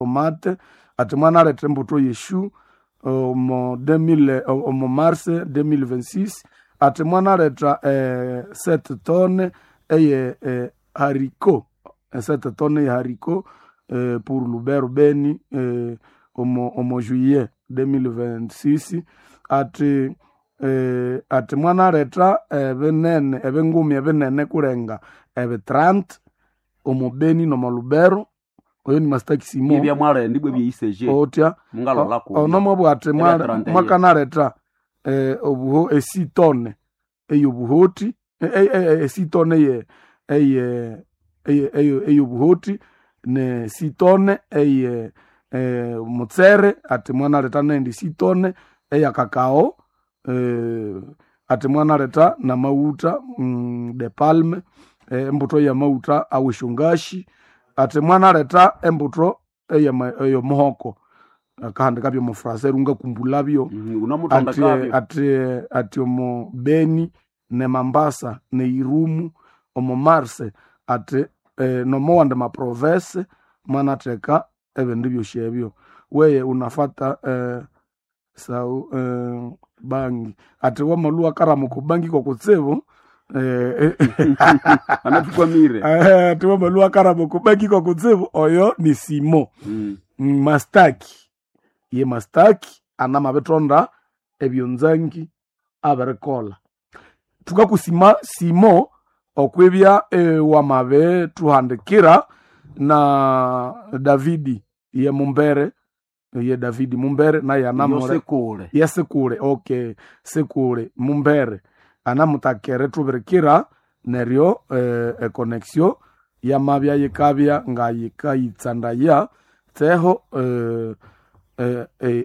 Tomate ati mwanaletha embuto yeshu omo 2000 omo mars 2026 ati mwanaletha 7 tonne eye haricot, 7 tonne ye haricot pour Lubero Beni omo juillet 2026 ati ati mwanaletha ebinene ebingumi ebinene kulenga ebi 30 omo Beni nomo Lubero. Oyo ni Master Simo Ibya mwalenda ibwe byeyiseje otya mungalolako ono mwabwate Ebya 31. mwakanaletha obuho esitone eyobuhoti esitone ye eye eyobuhoti ne sitone eye mutsere ati mwanaletha nendi sitone eya kakao ati mwanaletha na mauta de palme embuto ya mauta aweshongashi ati mwanaletha embuto eyomuhoko akahandika byo mufrasa rungakumbulabyo unamutonda ati kabyo ati ati omo Beni ne Mambasa ne Irumu omo Marse ati nomowandi maprovince mwanatheka ebindu byosi ebyo weye unafata sau bangi ati wamalhuwa karamuka bangi kokutsibu anathukwamire ati wamalhuwa karamuka bangi kokutsibu oyo ni Simo. Mastaki ye mastaki anamabithonda ebyonzangi abirikolha. Thukakusima Simo okwibya wamabithuhandikira na Davidi ye Mumbere ye Davidi Mumbere naye anamure yosekule yesikule okay sikule Mumbere anamutakere thubirikira neryo econnection yamabya yikabya ngayikayitsandaya tseho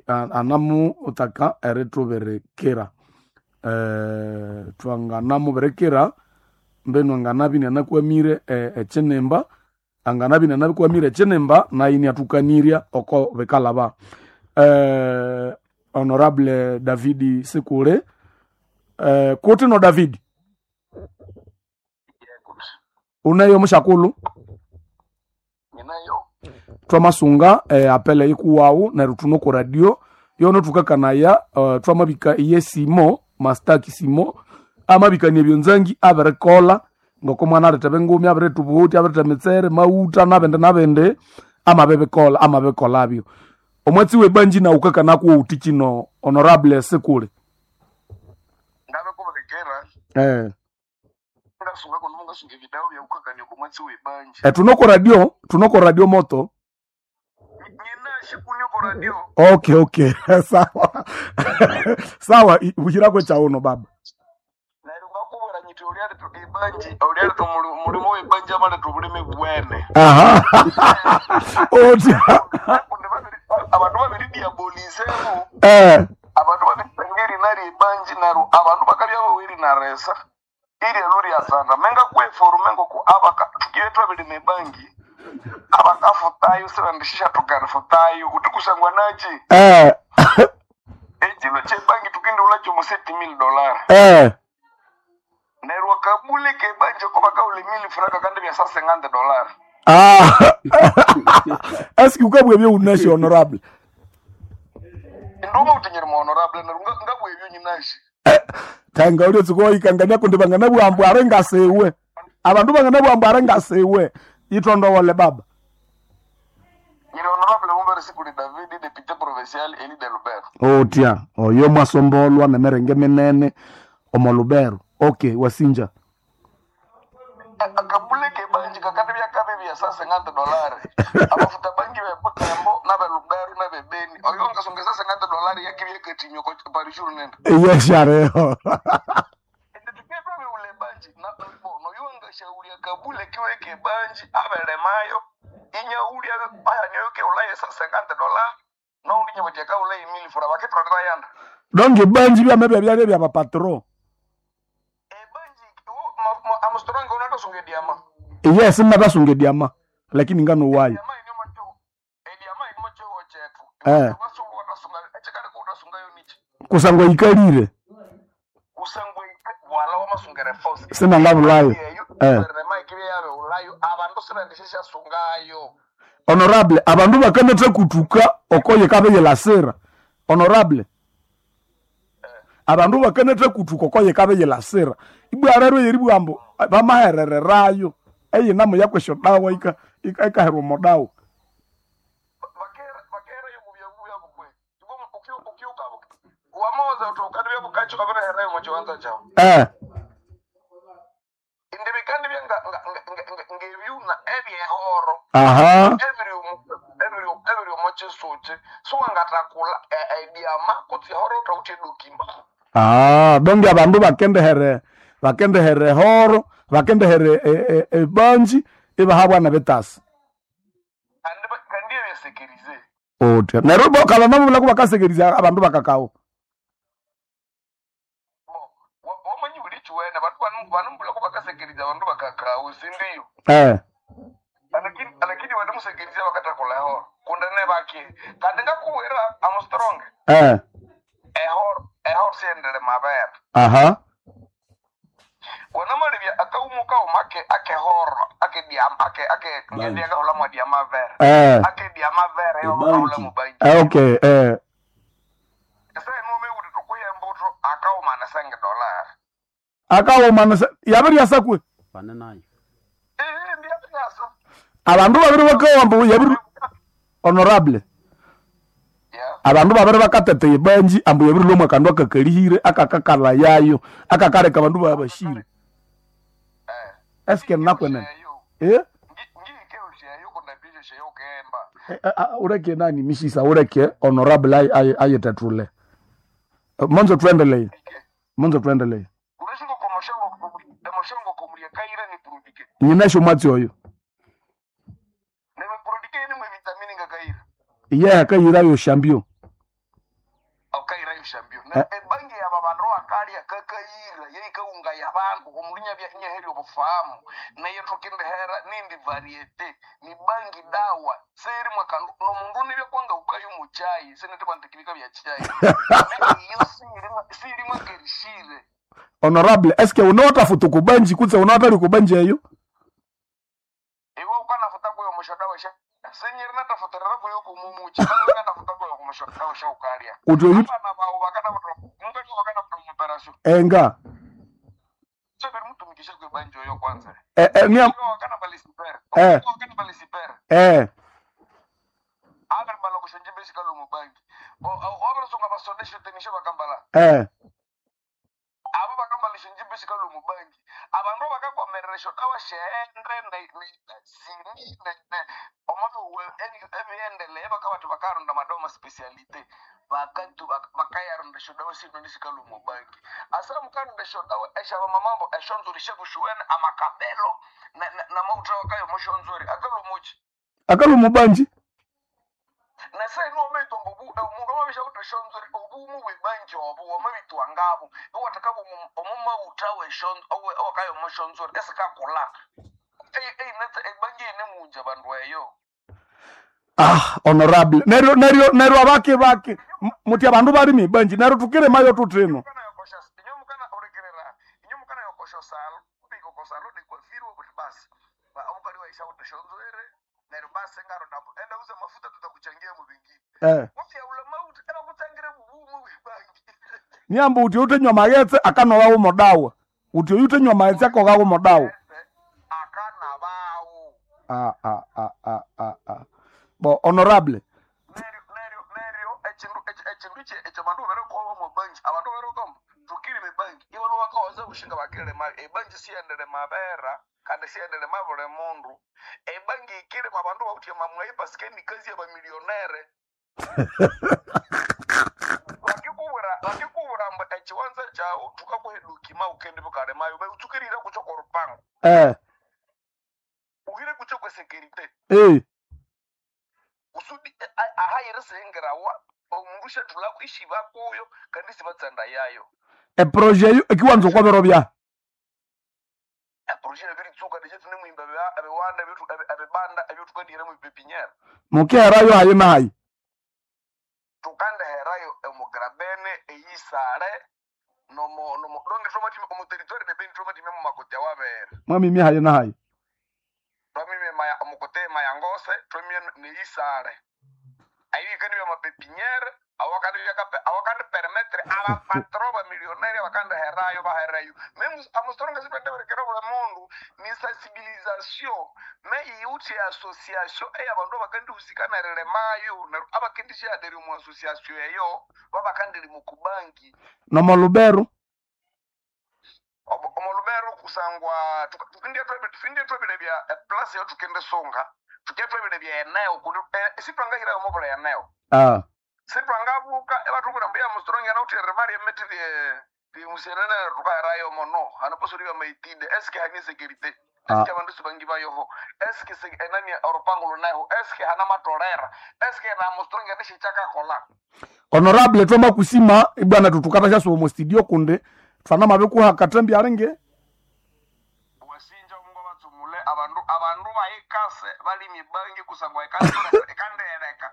anamutaka eritubirikira twanganamubirikira mbenu anganabya inanakwamire ekyinimba anganabya inanakwamire ekyinimba nayo iniathukanirya oko bikalaba. Honorable Davidi Sikule kuti no Davidi uneyo mushakulu Ninayo twamasunga apele ikuwawu neryo thuno ku radio yono thukakanaya twamabika iye Simo Mastaki Simo amabikania ebyonzangi abirikolha ngoko mwanaletha ebingumi abiretha obuhuti abiretha emitsere mauta nabindi nabindi amabibikolha amabikolhabyo. Omwatsi webanji nawu ukakanakuwa uthi kino Honorable Sikule? Ndabikubirekera ngasunga kuno mungasunga ebidawo byakukakania kumwatsi webanji Tunoko radio moto. Nyinashe kuniko radio. Okay sawa sawa buhirako chauno baba. Neryo ngakubwira nyiti ulyaleta ebanji ulyaleta mulimo webanji amaleta obulime bwene. Aha. Otya. Kundi abandu babiri diabolizemu abandu babiri erinari ebanji neryo abandu bakabya baweri naresa iryalo ryasanda menga kweforume ngoku abaka tukiye twabirima ebangi abakafutayo sibandishisha tukarifutayo uti kusangwa nachi ekilo kyebangi tukindula kyomu $7000 neryo akabule kebanji ko bakaula mili franka kandi bya $50. Ah. Eski ukabwa ebyo unashi honorable? Nduma utinyiri mu honorable neryo ngabwa ebyo nyinashi. Tanga ulio tsikoyikangania kundi banganabwambu are ngasiwe abandu banganabwambu are ngasiwe itondowole baba. Nyiri honorable Mumbere Sikuli David député provincial élu de Lubero. Otya oyo mwasombolwa nemerenge minene omo Lubero. Okay wasinja. Akabule kebanji kakandi byakabi bya $50 abafuta bangi bebutembo n'abelubero n'abebeni oyo ngasonga $50 yakibyekatinyo parishuru nenda. Yeshareho. Ule banji noyo ngashauri akabule kiwe kebanji abelemayo inyauli ayanyoyo keulaye $50 noundi nyabatyaka kaulaye mili fura bakitondera yanda. Donge banji byamabya byalya bya bapatro. Ebanji amustorange unatosunga ediama. Yes mnatasunga ediama lakini ngano wayo. Ediama ediama inimo chetu. Echikali nichi. Kusangwa ikalire. Kusangwa wala wamasungere force. Sinangabulayo. Abandu sibandishisha sungayo. Honorable, abandu bakanatha kutuka okoye kabeyelasira. Honorable, abandu bakanatha kutuka okoye kabeyelasira. Ibwa rero yeribwambo bamaherererayo eyinamo yakwesyo dawa ikaherwa omo dawa. Bakera yo mubya byabo kwe ukiuka wamoza utukandi bya bukacho kabereherayo mu kibanza kyawe. Indi bikandi bya ngebyuna ebyehoro. Aha. Ebiri omu kisuki siwangatakula ebyama kutse ehoro utawuthe edukimba. Ah, donge abandu bakendehere horo, bakendehere ebanji ibahabwana betasi. Kandi ebyesekerize. Otya. Neryo bo kalana mubulako bakasekeriza abandu bakakawo. Wamanyi buli kiwene bandu banumbulako bakasekeriza abandu bakakawo sindiyo. Lakini bandimusekeriza bakatakula ehoro kundi nebaki kandi ngakuwira amustrong. Ehoro siendele mabere. Aha. Wanamalibya akaumu kauma akehoro akediama ake ake ngediakahola mwadiama vere. Akediama vere yokahola mubanji. Okay. Ese nume uri tukuye mbuto akauma na senge dollar. Akauma na yabiri yasakwe. Bane nayo. Ndiyabiri. Abandu babiri bakawamba yabiri honorable. Yeah. Abandu babiri bakatete ibanji ambu yabiri lomwe akandu akakalihire akakakala yayo akakareka abandu babashire. Eske nakwene. Ureke nani mishisa ureke honorable ayetetule. Monzo tuendelee. Monzo tuendelee. Nyinasho mwatsi oyo. Iye akayira yo shambio. Okaira ishambio. Ebangi yaba bandu akalya kakayira yeikaunga yabandu omulinya bya nyeheri obufahamu naye tukindehera nindi variete ni bangi dawa seri mwakandu nomundu nibya kwanga ukayo muchai sinete bantu bya chai iyo siri mwakerishire. Honorable, eske unawata futu kubanji kutse unawata likubanji eyo? Iwe ukanafuta kuyo mushoda wesha senyeri natafutirira kuyo kumumuchi kana natafuta kuyo kumushoda wesha ukalya. Utyo yuti Abana bawo bakana mungani wakana operation. Enga. Sebe mutumikishe kwe banjo yo kwanza. Nia wakana balisiper. Wakana balisiper. Aber bala kushonje beshika lo mubangi. Obra songa basondeshe tenishe bakambala. Abo bakambala shonje beshika lo mubangi. Abandu bakakwamereresho kawa shendre ne sini ne omabe ebiendele bakabatu bakaronda madoma specialite. Bakantu bakayarunda shodawa sino nishika lo mubangi. Asa mukanda shodawa eshaba mamambo eshonzuri shekushuwene amakabelo na mauta wakayo moshonzuri akalo muchi. Akalo mubanji. Nase no meto mbubu omundu amabisha kuti shonzuri obumu bwebanji obu wamabitwa ngabo owatakabu omuma utawe shonzo owakayo moshonzuri esikakula. Netse ebanji ine munja bandu eyo. Ah, honorable. Neryo abake bake muti abandu bali mibanji neryo tukire mayo tutino. Inyomukana urekerera. Inyomukana yokosho salo, ubiko kosalo dikwafirwe kuti basi. Omukali waisha kuti shonzwere neryo basi ngaro ndapo. Enda uze mafuta tutakuchangia mu bingine. Uti ula mauti era kuchangira bubumu bwebangi. Niambo uti utenywa magetse akanowa umodawa. Uti utenywa magetse akoga umodawa. Akana bawo. Bo honorable. Neryo echindu echo bandu bereko mu banki abantu bereko tukiri mu banki ibo wakawaza kushinga bakirele ma ebanki siyendele mabera kandi siyendele mabule mundu ebanki ikire mabandu bakuti mamwe pasikeni kazi ya bamilionere wakikubura mbu echiwanza chawo tukakuhedukima ukende bukale mayo utsukirira kucho korupango uhire kucho kwe security kusudi ahayire sengerawa omundu shatula kwishiba kuyo kandi sibatsanda yayo Eproje eyo ekiwanza okwabero bya eproje ebiritsuka ndechethu nemwimba ebiwanda ebibanda ebyotukandihera mu pepinyera mukiherayo hayi na hayi tukandiherayo emugrabene eyisale nomo nomo donge tromatime omu territoire de Beni tromatime mu makoti awabera mwamimi hayi na hayi twamime omukutema omukutema ya ngose twemye neisale ayikani bya mapepiniere awakandi awakandi permettre abapatro bamilionnaire abakandi herayo baherayo meme amustoronga sitwendeberekera buli mundu ni sensibilisation me iuthi association eyabandu abakandihusika nerilemayo neryo abakendishyaderi omu association eyo babakandiri mukubanki Nomo Lubero. Omolubero kusangwa tukindya twebile bya eplasi eyo tukendisunga tukya twebile bya eneo kundi sitwangahirayo mobula eneo. Ah. Sitwangabuka ebathubwira mbu ya mustrongi anawuthi erimali emithi lyemusenene tukaherayo mono hano posoli bya maitide eske hani security? Ah. Eske abandu sibangi bayoho? Eske enani orupango luneho? Eske hana matolera? Eske na mustrongi anishichakakola? Honorable, twama kusima ibwana tutukata sha somo studio kunde twana mabikuha katembi alinge. Wasinja omungu abatsumule abandu bayikase balimi bangi kusangwa ikase ikandereka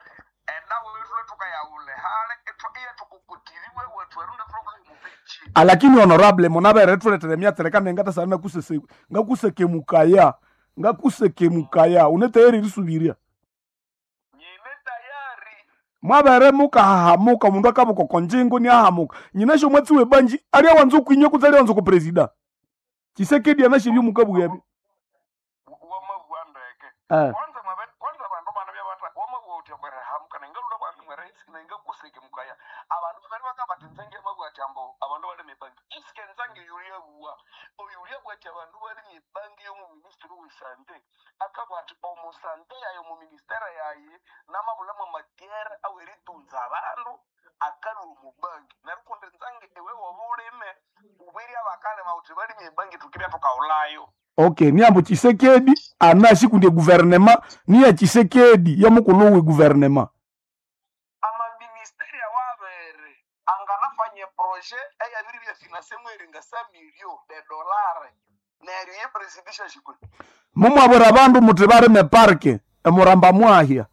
endawo yethu tukayawule hale iye tukukutiriwe wethu erunde tulokulimupichi. Alakini honorable, munabere tuletere myatsereka nengata sana kusese ngakusekemukaya ngakusekemukaya uneteyeri risubiria. Nyine tayari. Mwabere mukahahamuka mundu akabuka konjingo ni ahamuka nyinasho mwatsi webanji alia wanza kwinywa kutsi alia wanza kupresida Chisekedi anashibyo mukabuyabyo. Wamabwa ndeke. Eh. Kwanza mabe kwanza abandu bana byabata wamabwa uthi bwerahamuka nengalula bwami mwerahisi nengakusekemukaya abandu bali bakabata nzange mabwa chambo abandu bali mibangi iske nzange yulia bwa oyulia bwati abandu bali mibangi yo mu ministry wesante akabati omusante yayo mu ministera yaye namabulamo matiere aweritunza abandu akalwa mubangi nerukundi nzange ewe wobulime ubwiri abakalema uthi bali mibangi tukibya tukaulayo. Okay, niambo Chisekedi anashi kunde guvernema niya Chisekedi yamukulu we guvernema. Amaministeri awabere anganafanye proje eyabiri byafinase mweringa sa milio de dolare neryo yepresidisha shikwe. Mumwabura abandu muti barime parke emuramba mwahya.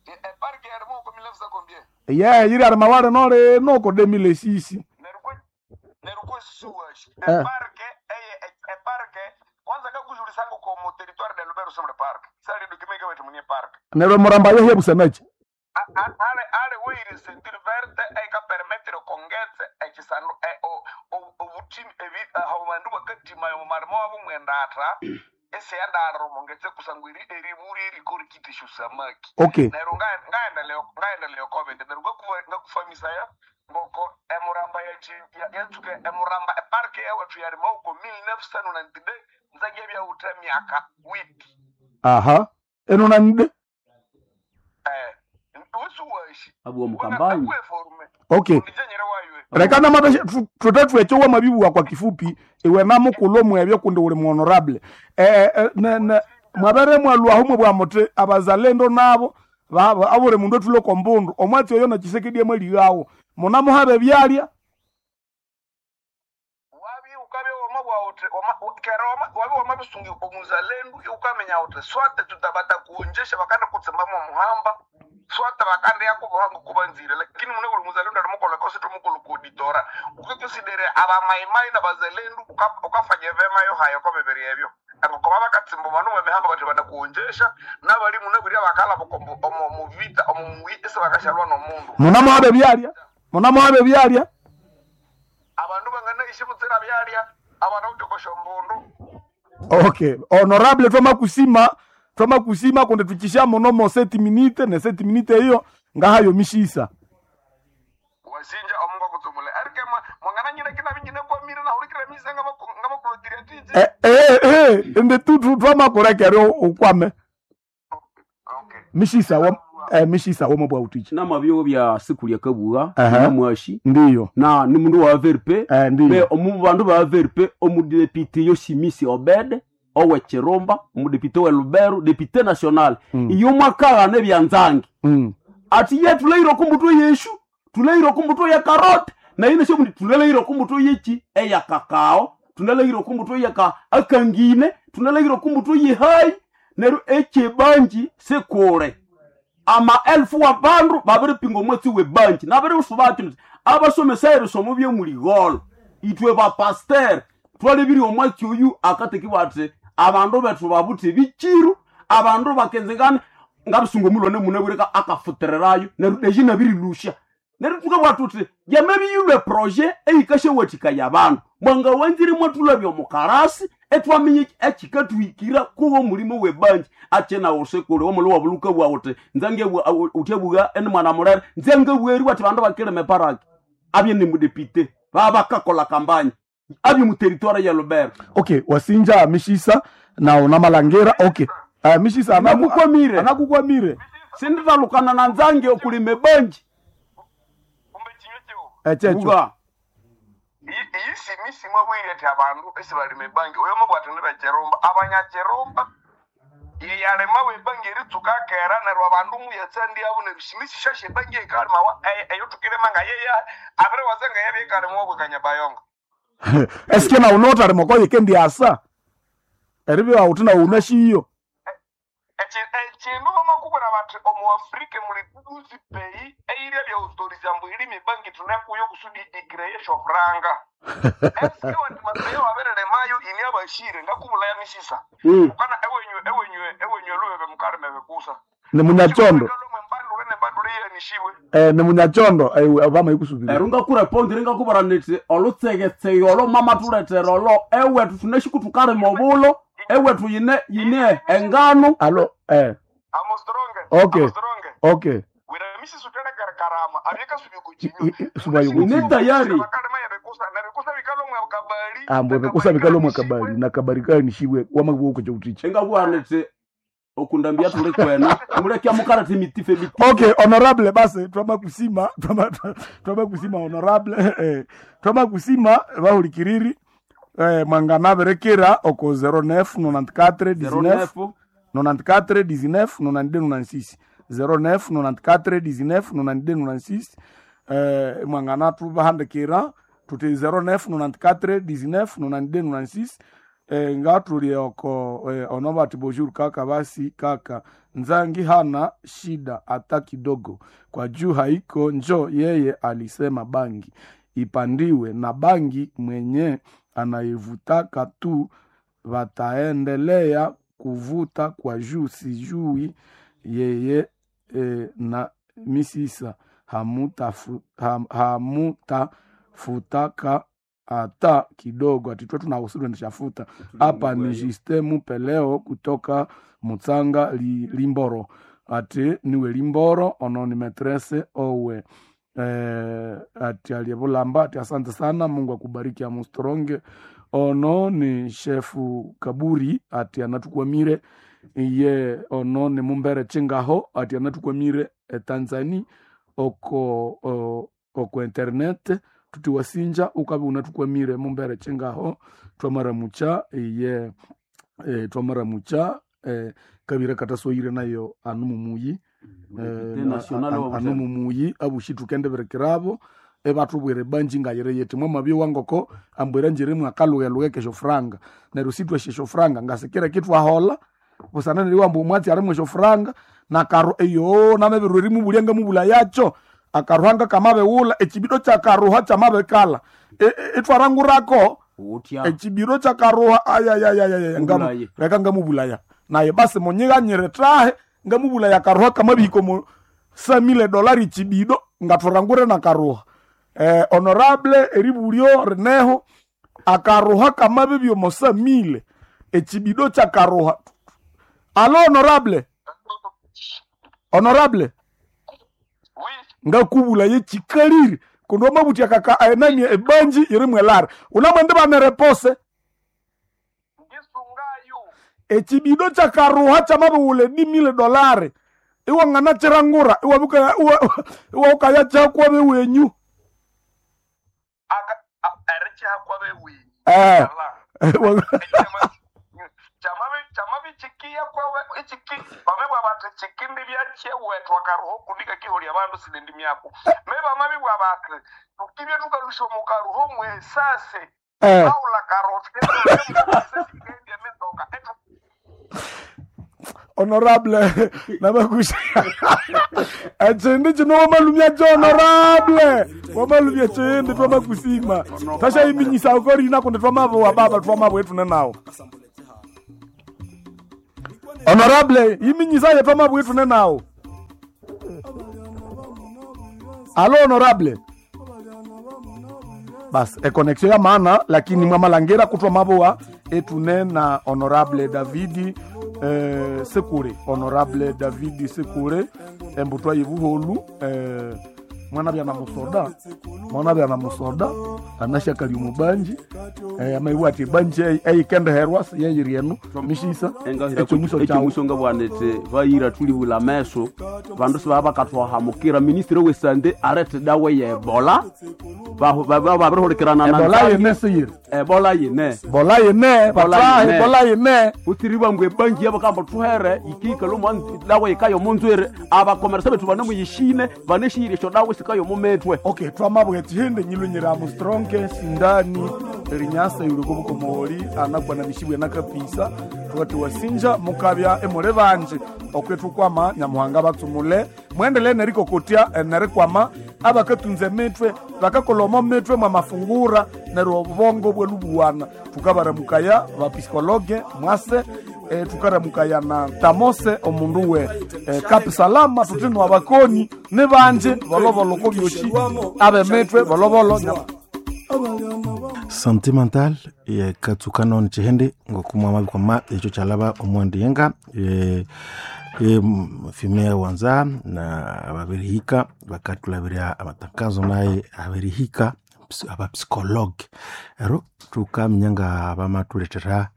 Eparke yarimo uko milefsa combien? Ye yiri ari mawale nole noko demile sisi. Neryo suwashi Eh. eparke eye eparke kwanza kakujulisanga ko mu territoire de Lubero somre park sali dokimeka wetu munye park. Neryo muramba yahya busanachi. Ale ale weiri sentir verte eka permettre kongetse ekisando obutimi ebi abandu bakatima yo marimo wabo mwendatra ese yandaro mongetse kusangwa eri eriburi erikori kitisho samaki. Okay. Neryo ngaendeleo covid neryo ngakufamisa ya ngoko emuramba yatsuka emuramba eparke yawethu yarima uko 1990 nzange byawutha myaka wiki. Aha. Eno nande. Usuwashi Abwo mukambanyi. Okay. Ndijenyere waywe. Rekana mabeshe tutatwe chowa mabibu kwa kifupi iwe namukulo mwebyo kunde uli honorable. Ne ne mwabere mwalwa humwe bwa muti abazalendo nabo baba abure mundu tulo kombundu omwatsi oyo na Chisekedi emweli yawo munamuhabe byalya. Wabi ukabe wama bwa uti kera wama wabi wama bisungi omuzalendo ukamenya uti swate tutabata kuonjesha bakanda kutsemba mu muhamba swate bakanda yakubohanga kubanzire lakini mune uli muzalendo alimukola kosi tumukolo kuditora ukikonsidere abamaimai na bazalendu ukafanya vema yo hayo kwa bibiri ebyo abakoba bakatsimba manu mu mihamba bati bada kuonjesha n'abali mune buri abakala omu mu vita omu muite bakashalwa n'omundu. Munamuhabe byalya munamuhabe byalya. Abandu bangana ishibutsira byalya abantu kutokosha mbundu. Okay, honorable twama kusima kunde tukisha monomo 7 minute ne 7 minute hiyo ngahayo mishisa. Wasinja omungu akutsumule arike mwangana nyina kina binyine kwa mira na hulikira misa ngaba kulotira tiji. Ende tutu twama kurekere ukwame. Okay. Mishisa wa mishisa wo mabwa utichi. Na mabyo bya siku lya kabuga Aha. na mwashi Ndiyo. na ni mundu wa VRP. Ndiyo. Me omu bandu ba VRP omudepite Yoshimisi Obed owe Chirumba omudepite we Lubero depute national. Iyo mwakala ne byanzange. Ati ye tuleiro kumbuto yeshu tuleiro kumbuto ya karote na ine sho tuleiro kumbuto yechi eya kakao tunaleiro kumbuto ya ka akangine tunaleiro kumbuto ye hai neru echebanji sekore ama elfu wa bandu babiri pingo mwetsi we banji nabiri usubati abasomesa erisomo bye muligolo itwe ba pasteur twalebiri omwatsi oyu akateki bati Abandu bethu babuthe ebichiru, abandu bakenzengana ngabisunga omulwane munabwire akafutirirayo neryo deji nabirilusha. Neryo tukabugha thuthi yamabiyilwe proje eyikasyawathikaya abandu. Mwanga wanzire mwathulabya omukarasi etwaminya ekikathuhikira kuwo omulimo webanji akina usikuli omuli wabuluka bwa uthi nzange uthebugha eni mwana mulere nzange bweri wathi bandu bakilima eparaki abye ni mudepite babakakola kampanya abye mu territoire ya Lubero. Okay, wasinja mishisa na unamalangira. Okay, mishisa Nakukwamire. Anakukwamire. Sinditalukana na nzange okulima ebanji. Kumbe chinywe chiwo. Echecho. Buga. Iyi simisi mwabwire ati abandu esibalima ebangi oyo mubwate nibecherumba abanyacherumba yeyalima webangi eritsuka kera neryo abandu muyatsandia abo neryo simisi shasha ebangi ekalima eyo tukirima nga yeya abiri wazenga yabye ekalima wabwekanya bayonga. Eske na unota rimokoye kendi asa eribyo awuthi na unashiyo. Ekindu bamakubwira bati omu Afrika muli duzi peyi eyirya byautoriza mbu irima ebangi tunekuyo kusudi ikreye shofuranga. Eske wati mapeyo wabereremayo ini abashire ngakubulaya misisa. Ukana ewenywe ewenywe ewenywe lubebe mukalime bekusa. Ni munyachondo. Mbandule ne mbandule yenishiwe. Ni munyachondo obama ikusubira. Eryo ngakurepondire ngakubwira niti olutsegetsege olo mama thuletera olo ewethu thunashiku thukalima obulo ewethu yine yine engano. Alo Amo strong. Okay. Amo strong. Okay. Wira misisa utelekere karama abyeka subikuchinyo. Subayukuchinyo. Ni tayari. Bakalima yabekusa nabikusa bikalomwe kabali. Ambwe bekusa bikalomwe kabali na kabali kanishiwe wamabuko kucha. Engabugha niti okundambia tuli kwena mulekya mukaleta emitife mitife. Okay, honorable basi twama kusima twama kusima honorable twama kusima bahulikiriri mwangana berekera oko 09 94 19 94 19 92 96 09 94 19 92 96 mwangana tubahandikira tuti 09 94 19 92 96 ngatuli oko onobati bonjour kaka basi kaka nzangi hana shida hata kidogo kwa juu haiko njo yeye alisema bangi ipandiwe na bangi mwenye anaivutaka tu wataendelea kuvuta kwa juu sijui yeye na misisa hamutafutaka hata kidogo atitwe tunahusuru hapa ni Justin Mupeleo kutoka Mutsanga Limboro ati niwe Limboro ono ni metrese owe ati aliyebulamba ati asante sana Mungu akubariki amustronge ono ni shefu Kaburi ati anatukwamire iye ono ni Mumbere Chingaho ati anatukwamire Tanzania oko oko internet tuti wasinja ukabe unatukwamire Mumbere Chingaho twamaramucha iye twamaramucha kabira katasoyire nayo anu mumuyi anu mumuyi abushi tukendeberekerabo ebatubwire banji ngayire yeti mwamabye wangoko ambwira njiri mwakalugheluge kesho franga neryo sitweshe esyo franga ngasikira kitwahola busana neri wambu omwatsi arimwe esyo franga nakaru eyo namabirwa erimubulya ngamubula yacho akaruhanga kamabighulha ekibido kyakaruha kyamabikala itwarangurako ekibiro kyakaruha ayayayaya leka ngamubulaya naye basi munyighanyire tahe ngamubulaya akaruha kamabihika omu samile dolari ekibido ngathurangure nakaruha honorable eribulyo rineho akaruha kamabibya omo samile ekibido kyakaruha alo honorable honorable ngakubula yechikalire kundi wamabuthya kaka enani ebanji iri mwelara unamwende banerepose echibido kyakaruha kyamabighula edimile dolari iwangana chirangura iwaukaya kyakwabe wenyu chamabichikiya kwawe ichiki bamebwa bati chikindi byakyewetwa karuho kundika kiholya bandu sinendi myako me bamabibwa bati tukibye tukalusha omukaruho mwesase aula karuho tukendia mizoka honorable namakusha echindi chino wamalumya cho honorable wamalumya chindi twamakusima tashayiminyisa ukorina kundi twamavo wa baba twamavo etune nawo. Honorable, yiminyisaye twamabwitu nenawo. Alo honorable. Bas, econnexion ya maana lakini mwamalangira kutwa maboa etune na honorable Davidi Sekure, honorable Davidi Sekure embutwa yibuholu mwana bya na musoda, mwana bya na musoda anashakali mubanji amaiwa ati banji eikendeherwa yeyiri enu mishisa ekyomuso kyawo ekyomuso nga bwanete vayira tulihula meso vandu sibava bakatwahamukira ministre wesante arete dawa ye ebola babirihulikirana na ebola Nzangi. yene siyiri ebola yine bola yene Bola batahe yene. bola yene utsiri bwangu ebangi yabakamba tuhere ikikalo dawa yikayo munzwere abakomeresa bethu vanemuyishine vaneshiyire esyo dawa sikayo mumitwe okay twamabwe tihinde nyilunyira mustronke sindani rinyasa yuliko bukomoli anakwa na mishibwe nakapisa tukati wasinja mukabya emule banje okwetu kwama nyamuhanga batsumule mwendele nerikokotya nerikwama abakatunza emitwe bakakoloma mitwe mwa mafungura neryo obubongo bwelubuwana tukabaramukaya bapsikologe mwase tukaramukaya na tamose omundu we kapisalama tutino abakoni nibanje boloboloko byoshi abemitwe bolobolo Sentimental yekatsukano ni chihende ngokumwa mabikwama ekyo kyalaba omwendi yenga fime wanza na ababirihika bakatulabirya amatangazo naye abirihika abapsikologe ero tukaminya nga bamatuletera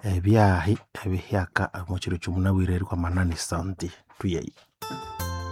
ebyahi ebihyaka omukiro kyomunabwire erikwamana ni santi tuyeyi.